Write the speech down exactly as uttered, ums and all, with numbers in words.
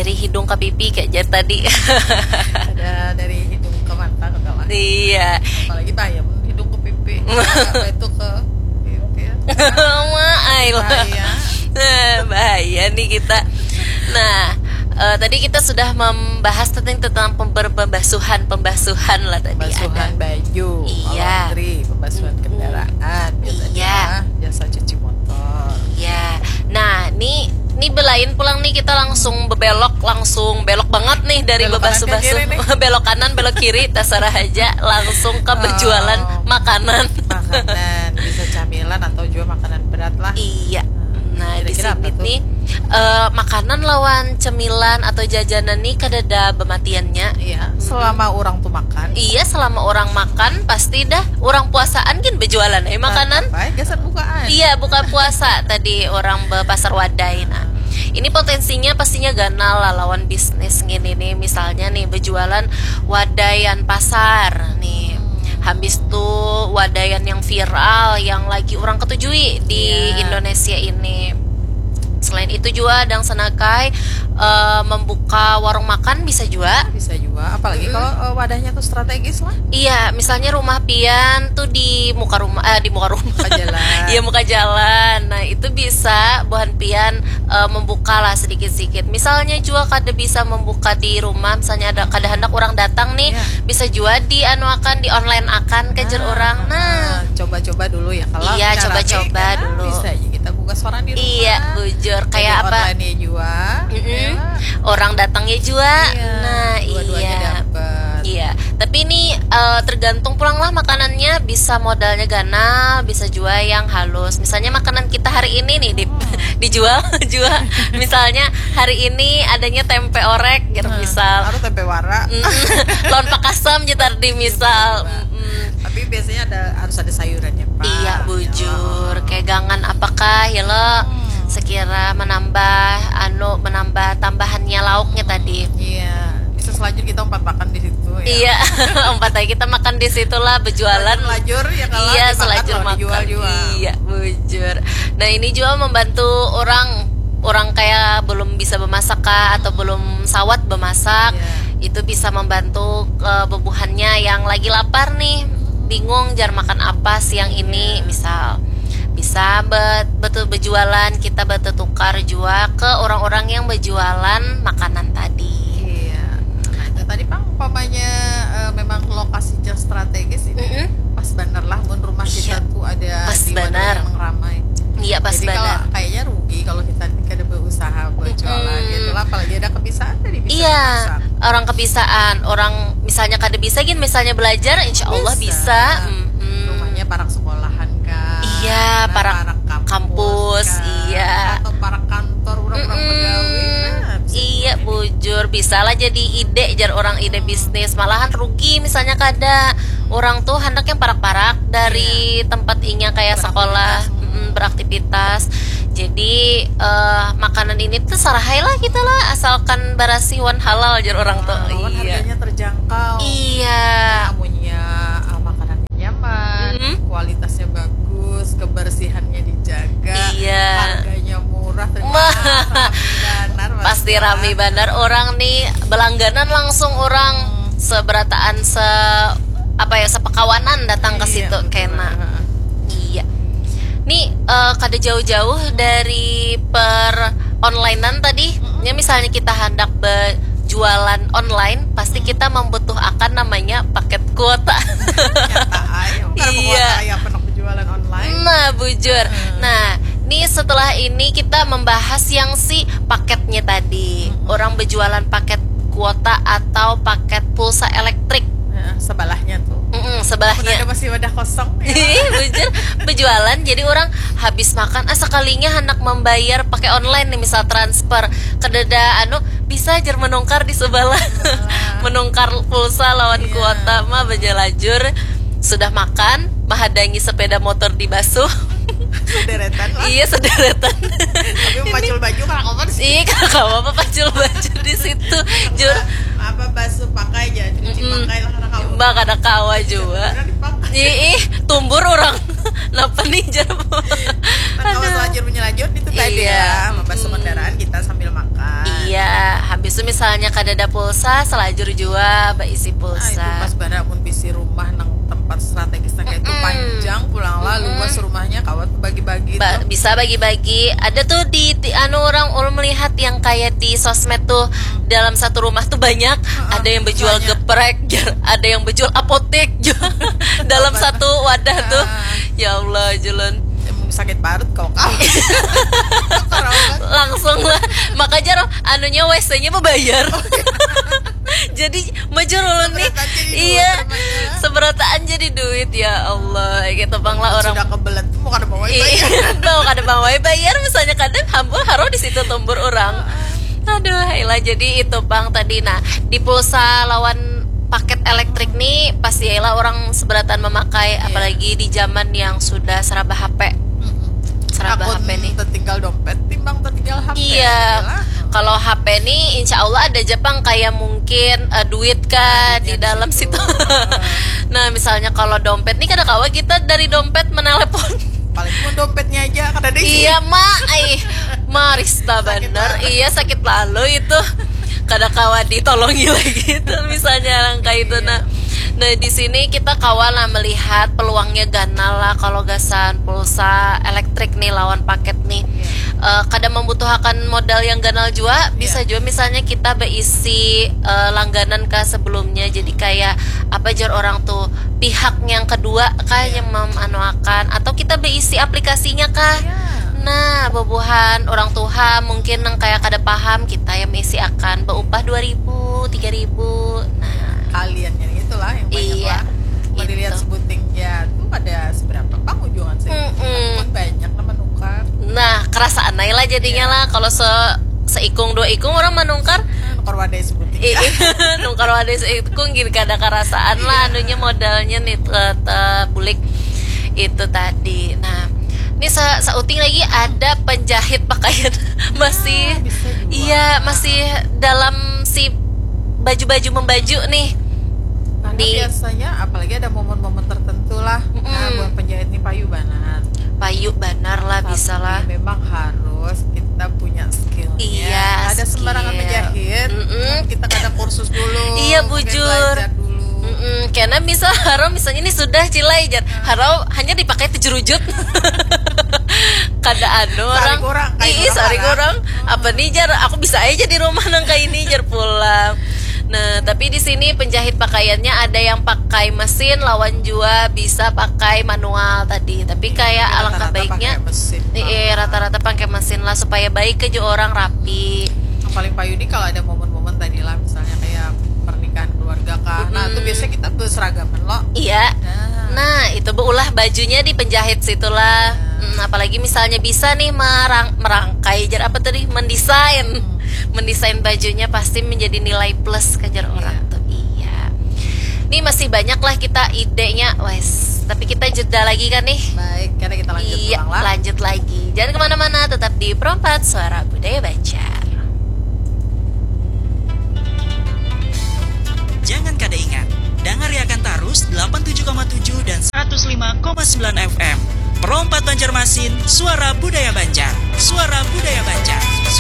Dari hidung ke pipi kayak jar tadi. Ada dari hidung ke mata kata lah. Iya. Apalagi bayam hidung ke pipi. Apa itu ke pipi ya? Wah, ai lah. Bahaya. Nah, bahaya nih kita. Nah, eh, tadi kita sudah membahas tentang tentang pember- pembasuhan pembasuhan lah tadi Pembasuhan ada. Baju, Iya. Laundry, pembasuhan kendaraan, biasanya Iya. Jasa cuci motor. Iya. Nah, ini ini belain pulang nih kita langsung bebelok langsung belok banget nih dari Belok kanan, bebasuh-basuh ke kiri nih. Belok kanan belok kiri terserah aja langsung ke berjualan Oh. Makanan. Makanan bisa camilan atau juga makanan berat lah. Iya. Nah, di Kira-kira apa sini tuh? Nih eh, makanan lawan cemilan atau jajanan nih kadada bematiannya. Iya, selama orang tuh makan. Iya, selama orang makan pasti dah orang puasaan kan berjualan eh makanan. Apa? Gasan bukaan. Iya, bukan puasa tadi orang be pasar wadai. Nah, ini potensinya pastinya ganal lah lawan bisnis gini nih. Misalnya nih berjualan wadaian pasar nih. Habis tuh wadaian yang viral yang lagi orang ketujui di Iya. Indonesia ini. Selain itu juga dang senakai eh, membuka warung makan bisa juga. Bisa juga, apalagi kalau eh, wadahnya tuh strategis lah. Iya, misalnya rumah pian tuh di muka rumah, eh, di muka rumah. Muka jalan. Iya, muka jalan. Nah, itu bisa buhan pian eh, membuka lah sedikit-sedikit. Misalnya juga kada bisa membuka di rumah, misalnya ada kada hendak orang datang nih, Iya. Bisa juga di anu akan di online akan ke jer orang. Nah, Nah, coba-coba dulu ya kalau Iya, kita coba-coba rame, karena dulu. Bisa aja kita buka seorang di rumah. Iya, bujur. Kayak Jadi apa? Online ya juga. Mm-mm. Ya. Orang datangnya juga. Iya, Nah, dua-duanya iya. Dapat. Iya, tapi ini eh, tergantung pulang lah makanannya, bisa modalnya ganal, bisa juga yang halus. Misalnya makanan kita hari ini nih di, dijual juga. Misalnya hari ini adanya tempe orek gitu Nah, misal. Harus tempe wara. Mm-mm. Lawan pakasam gitu di misal. Mm-mm. Tapi biasanya ada harus ada sayurannya pak. Iya, bujur. Kayak gangan apakah ya lo sekira menambah anu menambah tambahannya lauknya tadi. Iya. Bisa selanjutnya kita empat makan di situ ya. Iya, empat hari kita makan di situlah berjualan. Lajur ya kalau Iya, dimakan selajur loh, makan. Dijual juga. Iya, bujur. Nah, ini juga membantu orang orang kayak belum bisa memasak kah atau belum sawat memasak, Iya. Itu bisa membantu eh, bebuhannya yang lagi lapar nih, bingung jar makan apa siang ini, misal bisa bet betul berjualan kita bertukar juga ke orang-orang yang berjualan makanan tadi. Iya. Nah, itu tadi pang umpamanya eh, memang lokasinya strategis ini Mm-mm. Pas bener lah mun rumah kita Iya. Tuh ada Pas di wadah bener. Yang ramai. Iya, pas Jadi kalau bener. Kayaknya rugi kalau kita kada berusaha berjualan Mm-mm. Gitu lah, apalagi ada kebiasaan tadi bisa Iya, memasak. Orang kebiasaan, orang misalnya kada bisa gin, misalnya belajar, insya Allah bisa. Mm-mm. Rumahnya parak sekolahan kah? Iya, Nah, parak kampus, kampus, kah? Iya. Atau parak kantor orang-orang Mm-mm. Pegawai. Nah, bisa Iya, juga. Bujur, bisa lah jadi ide jar orang ide bisnis. Malahan rugi misalnya kada. Orang tuh hendak yang parak-parak dari tempat inya kayak sekolah, mm, beraktivitas. Jadi eh, makanan ini tuh sarahai lah kita lah, asalkan barasih wan halal jar orang tuh. Lawan Iya. Harganya terjangkau. Iya. Amunnya uh, makanannya nyaman, Mm-mm. Kualitasnya bagus, kebersihannya dijaga, Iya. Harganya murah, terima Mah. kasih, rame banar, Pasti masalah. Rame banar orang nih, belangganan langsung orang seberataan se apa ya, sepekawanan datang ke Iya, situ betul. Kena. Iya. Nih eh, kada jauh-jauh dari per onlinean tadi. Ya, misalnya kita hendak berjualan online, pasti kita membutuhkan namanya paket kuota. Nyata aja, karena Iya. Penguasa kayak pernah berjualan online. Nah, bujur. Nah, nih setelah ini kita membahas yang si paketnya tadi. Orang berjualan paket kuota atau paket pulsa elektrik. Nah, sebelahnya tuh. Mm-mm, Ada sebelahnya. Masih wadah kosong. Ya. Ih, bujur, berjualan jadi orang habis makan ah sekalinya hendak membayar pakai online nih, misal transfer, kedada anu bisa jar menukar di sebelah. Menukar pulsa lawan kuota mah berjelajur. Sudah makan, menghadangi sepeda motor di basuh. Sederetan lah. Iya, sederetan. Tapi pacul baju kalau kapan sih? Iya, kalau apa pacul baju di situ. Jur, Apa basuh pakai aja, cuci Mm-mm. Pakai lah karena kamu. Mbak kada kawa juga. Beneran dipakai. Ih, ih, tumbur orang. Napa nih jar? Nah, kalau selanjut menyelajur itu tadi Iya. Ya, membasuh kendaraan kita sambil makan. Iya, habis Misalnya kadada pulsa, selajur jua baisi Nah, itu pulsa. Pas banar mun bisi rumah nang tempat strategis nang kayak itu Mm-mm. Panjang pulang lah, Mm-mm. Luas rumahnya, kawa bagi-bagi Ba- tuh. Bisa bagi-bagi. Ada tuh di, di anu, orang ulun melihat yang kayak di sosmed tuh, dalam satu rumah tuh banyak. Ada yang berjual Misalnya. Geprek, jar. Ada yang berjual apotek, jar. Dalam Obat. Satu wadah tuh. Ah. Ya Allah, julun. Emang sakit parut kau kau. Kau karaoke. Langsung lah. Maka jar, anunya, W C-nya bebayar. Jadi majur ulun nih. Seberataan jadi duit Iya. Namanya. Seberataan jadi duit, ya Allah. Gitu pang lah orang. Sudah kebelet tuh mau kada bawa itu Iya, aja. Tahu kada bang wai bayar, misalnya kadang hambur haro di situ tumbur orang. Aduh, ilah, jadi itu pang tadi. Nah, di pulsa lawan paket elektrik nih pasti ilah orang seberatan memakai, Iya. Apalagi di zaman yang sudah seraba H P. Mm-mm. Seraba Akun H P nih. Tertinggal dompet timbang tertinggal H P. Iya, Lah. Kalau H P nih, insya Allah ada aja pang kayak mungkin eh, duit kah Duitnya di di dalam situ. Situ. Nah, misalnya kalau dompet nih, kada kawa kita dari dompet menelepon. Paling pun dompetnya aja kada ada isi. Iya, mak, ih, marista Sakit bener. banget. Iya, sakit lalu itu. Kada kawa ditolongi lagi itu, misalnya orang kayak itu. Nah, nah, di sini kita kawa lah melihat peluangnya ganal lah kalau gasan pulsa elektrik nih lawan paket nih. Eh, kada membutuhkan modal yang ganal jua, bisa jua misalnya kita beisi eh, langganan kah sebelumnya, jadi kayak apa jar orang tuh, pihak yang kedua kah yang memanuakan, atau kita beisi aplikasinya kah. Iya. Nah, bubuhan orang tuha mungkin nang kayak kada paham, kita yang mengisi akan beupah dua ribu, tiga ribu. Nah, Kalian yang itulah yang banyak Iya, lah. Mau dilihat gitu. Sebuting ya tuh ada seberapa pang ujungan sih. Mm-mm. Pun banyak lah menukar. Nah, kerasaan aja lah jadinya Iya. Lah. Kalau se seikung dua ikung orang menukar. Nah, nukar wadai Sebuting. Iya, nukar wadai seikung gini kada kerasaan lah, Iya. Anunya modalnya nih te, te bulik itu tadi. Nah, ini sa sauting lagi ada penjahit pakaian masih Ah, bisa juga. Iya, masih dalam si baju-baju membaju nih. Karena Di- biasanya apalagi ada momen-momen tertentu lah. Nah, Mm-mm. Buat penjahit nih payu banget. Payu banar lah, bisa lah. Tapi memang harus kita punya skillnya. Iya, Ada sembarangan skill. Menjahit. Mm-mm. Kita kada kursus dulu. Iya, mungkin bujur. Belajar dulu. Mm-mm. Karena misal harau, misalnya ini sudah cilai jar. Harau hanya dipakai tujuh rujut. Kada anu Sehari orang. kurang, kain Ih, kurang sehari haram. Kurang. Apa nih jar? Aku bisa aja di rumah nang kayak ini jar pulang. Nah, tapi di sini penjahit pakaiannya ada yang pakai mesin lawan jua bisa pakai manual tadi. Tapi kayak alangkah Rata-rata baiknya pakai mesin. Iya, rata-rata pakai mesin lah supaya baik aja orang rapi. Yang paling payu nih kalau ada momen-momen tadi lah, misalnya kayak pernikahan keluarga kah. Nah, itu Mm-mm. Biasanya kita berseragaman loh. Iya. Nah. Nah, itu beulah bajunya di penjahit situlah. Hmm, apalagi misalnya bisa nih merang merangkai jar apa tadi mendesain. Mendesain bajunya pasti menjadi nilai plus kejar orang tuh. Iya. Ini masih banyak lah kita idenya, wes. Tapi kita jeda lagi kan nih. Baik, karena kita lanjut Iya, pulang lah. Lanjut lagi. Jangan kemana-mana, tetap di Perompat Suara Budaya Banjar. Jangan kada ingat, dangariakan tarus delapan tujuh koma tujuh dan seratus lima koma sembilan F M. Perompat Banjarmasin, suara budaya Banjar. Suara budaya Banjar.